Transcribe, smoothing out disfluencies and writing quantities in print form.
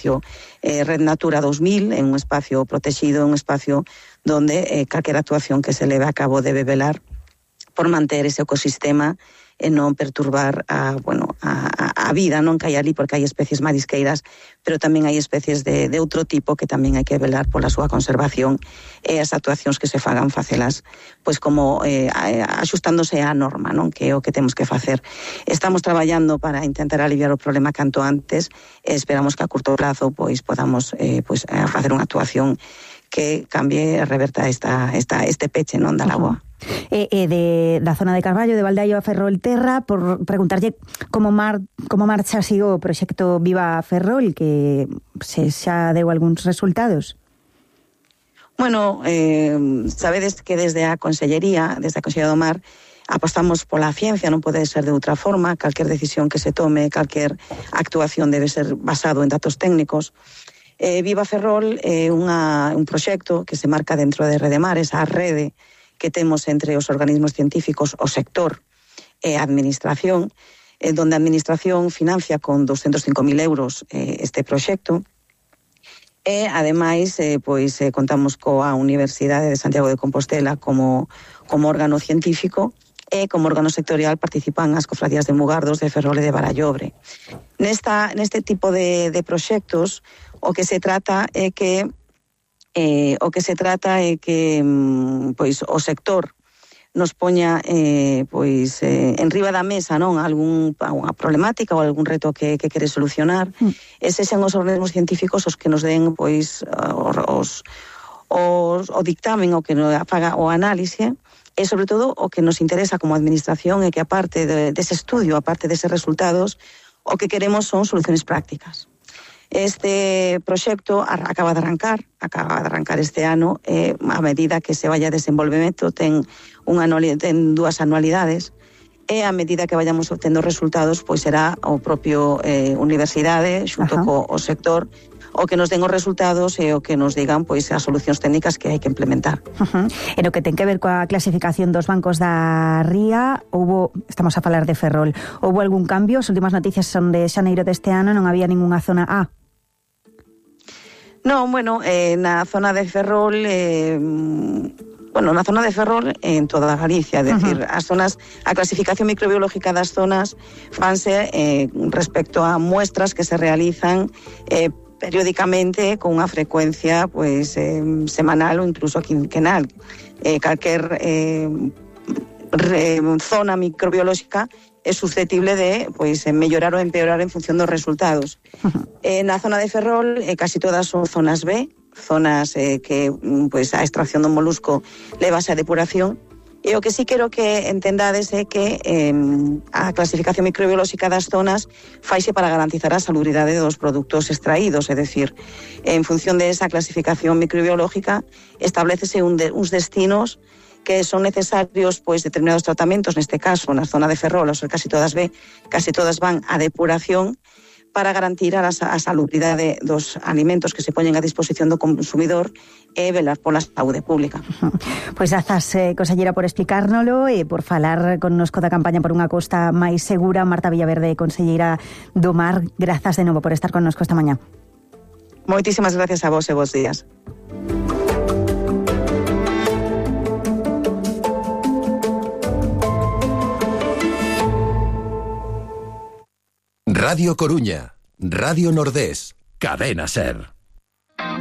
espacio Red Natura 2000, en un espacio protegido, un espacio donde calquera actuación que se leve a cabo debe velar por manter ese ecosistema e non perturbar a vida non que hai ali, porque hai especies marisqueiras, pero tamén hai especies de outro tipo que tamén hai que velar pola súa conservación e as actuacións que se fagan facelas pois como axustándose á norma, non, que é o que temos que facer. Estamos traballando para intentar aliviar o problema canto antes e esperamos que a curto plazo pois podamos facer unha actuación que cambie e reverta este peche, non, da lagoa. Da zona de Carballo, de Valdeallo a Ferrolterra, por preguntarlle como marcha así o proxecto Viva Ferrol, que se xa deu algúns resultados. Bueno, sabedes que desde a Consellería do Mar, apostamos pola ciencia, non pode ser de outra forma, calquer decisión que se tome, calquer actuación debe ser basado en datos técnicos. Viva Ferrol é un proxecto que se marca dentro de Redemares, a rede que temos entre os organismos científicos, o sector e a administración, donde a administración financia con 205.000 euros este proxecto, e ademais contamos coa Universidade de Santiago de Compostela como órgano científico, e como órgano sectorial participan as cofradías de Mugardos, de Ferrol e de Barallobre. Neste tipo de proxectos, o que se trata é que o sector nos poña en riba da mesa, non, algunha problemática ou algún reto que quere solucionar, e sexan os organismos científicos os que nos den o dictamen, o que nos faga o análise, e sobre todo o que nos interesa como administración é que aparte dese estudio, aparte deses resultados, o que queremos son soluciones prácticas. Este proxecto acaba de arrancar este ano, a medida que se vaya desenvolvemento ten 2 anualidades, e a medida que vayamos obtendo resultados, pois será o propio universidade xunto co sector o que nos den os resultados e o que nos digan pois as solucións técnicas que hai que implementar. E no que ten que ver coa clasificación dos bancos da ría, estamos a falar de Ferrol, houbo algún cambio? As últimas noticias son de xaneiro deste ano, non había ningunha zona A. Non, na zona de Ferrol, na zona de Ferrol en toda Galicia, é dicir, a clasificación microbiológica das zonas fanse respecto a muestras que se realizan periódicamente con unha frecuencia semanal ou incluso quinquenal. Calquer zona microbiolóxica é susceptible de mellorar ou empeorar en función dos resultados. Na zona de Ferrol casi todas son zonas B, zonas que a extracción do molusco levase a depuración, e o que sí quero que entendades é que a clasificación microbiolóxica das zonas faise para garantizar a salubridade dos produtos extraídos, é dicir, en función de esa clasificación microbiológica establecese uns destinos que son necesarios determinados tratamentos, neste caso na zona de Ferrol, ou casi todas van a depuración para garantir a salubridade dos alimentos que se poñen a disposición do consumidor e velar pola saúde pública. Pois grazas, conselleira, por explicárnolo e por falar connosco da campaña por unha costa máis segura. Marta Villaverde, conselleira do Mar, grazas de novo por estar connosco esta mañá. Moitísimas gracias a vos e bons días. Radio Coruña, Radio Nordés, Cadena Ser.